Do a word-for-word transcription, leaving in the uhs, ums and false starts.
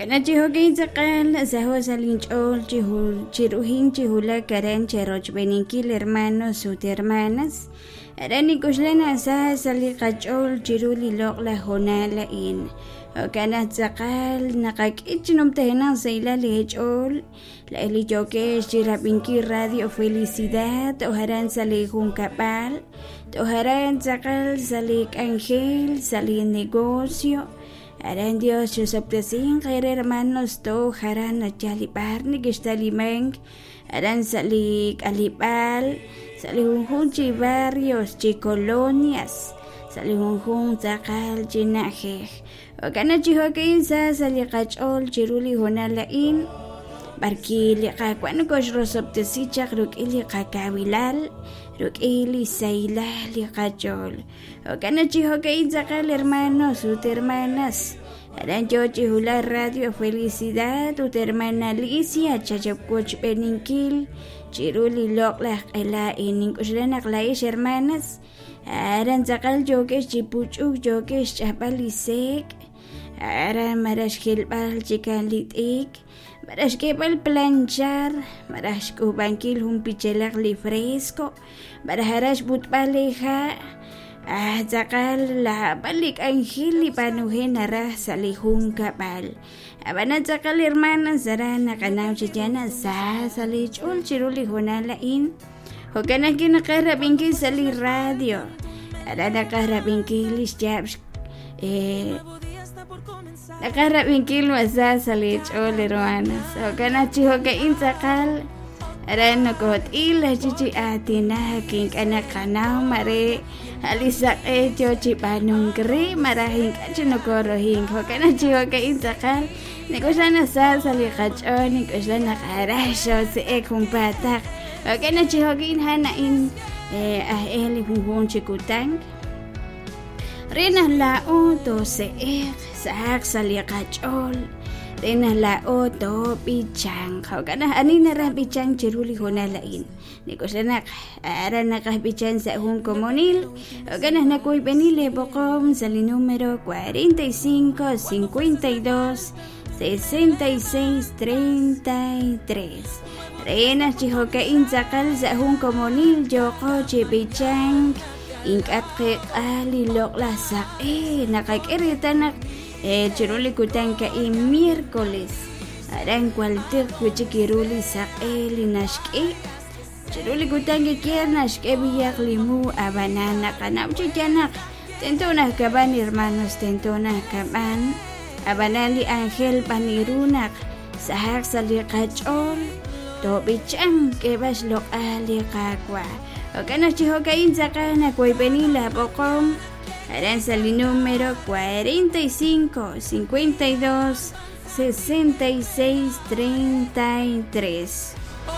Jo'kan chi jo'kan tz'aqal saho sa' linch'ool chi chiruhin chi wulak aran cherochb'eeninkil hermanos ut hermanas aran nik'uxlan sa sa' li qach'ool chiru li loq'laj hoonal a'in. Jo'kan naq tz'aqal naqak'e chi numtajenaq sahilal li ch'ool la'ej li yo'kex chirab'inkil Radio Felicidad tojaran sa' li junkab'al tojaran tz'aqal sa' li k'anjel sa' li negocio. Aran Dios chusob'tesinq ere hermanos tojaran nachalib'ar nikixtalimank aran sa' li k'alib'al sa' li junjun chi barrios chi colonias sa' li junjun tz'aqal chi na'ajej. Jo'kan chi jo'kan sa sa' li qach'ool chiru li hoonal a'in barki li Qaawa' nokoxrosob'tesi chaq rik'in li qakawilal rik'in li sahilal li qach'ool. Jo'kan chi jo'kan tz'aqal hermanos ut hermanas aran yo chi wulak Radio Felicidad ut hermana Alicia chachapwochb'eeninkil chiru li loq'laj q'ela a'in. Nink'uxlan naq la'ex hermanas aran tz'aqal yo'kex chi puch'uk yo'kex xch'ajb'al li sek' aran maraj xjilb'al chikan li t'ik maraj xk'eeb'al planchar maraj xk'ub'ankil jun pichelaq li fresco maraj aran xb'utb'al li ha' ah tz'aqal lab'al li k'anjel li b'aanuje naraj sa' li junkab'al. Ab'anan tz'aqal hermanas aran naqanaw chi yana sa sa' li ch'ool chiru li hoonal a'in. Jo'kan naq naqarab'inkil sa' li radio aran naqarab'inkil li xyaab' eh naqarab'inkil masa sa' li ch'ool hermanas. Jo'kan naq chi jo'kan tz'aqal aran nokot'il chi chi aatinak ink'a' naqanaw mare li saq'e yo chi b'aanunk re maraj ink'a' chi nokorohink. Jo'kan naq chi jo'kan tz'aqal nik'uxlan sa sa' li qach'ool nik'uxlan naq araj xose'ek junpaataq. Jo'kan naq chi jo'kan han a'in aj eh li junjun chi kutan re naq la'o tose'ek sahaq sa' li qach'ool re naq la'o toob'ichanq. Jo'kan naq ani naraj b'ichank chiru li hoonal a'in nik'uxlan naq aran naqaj b'ichan sa' jun komonil. Jo'kan naq nakuyb'eni li b'oqom sa' li número cuarenta y cinco, cincuenta y dos, sesenta y seis, treinta y tres re naq chi jo'kan tz'aqal sa' jun komonil yo'qo chi b'ichank ink'a' tqeq'al li loq'laj saq'e naqak'e reetal naq chiru li kutan ka'in miércoles aran kualtiq wi'chik iru li saq'e li naxk'e chiru li kutan kikier naxk'e b'iyaq li mu ab'anan naqanaw chi yanaq tento naq kab'an hermanos tento naq kab'an ab'anan li ángel b'an iru naq sahaq sa' li qach'ool toob'ichank k'eb'ax loq'al li Qaawa'. Jo'kan naq chi jo'kan tz'aqal nakuyb'eni la b'oqom aran sa' li número cuarenta y cinco, cincuenta y dos, sesenta y seis, treinta y tres.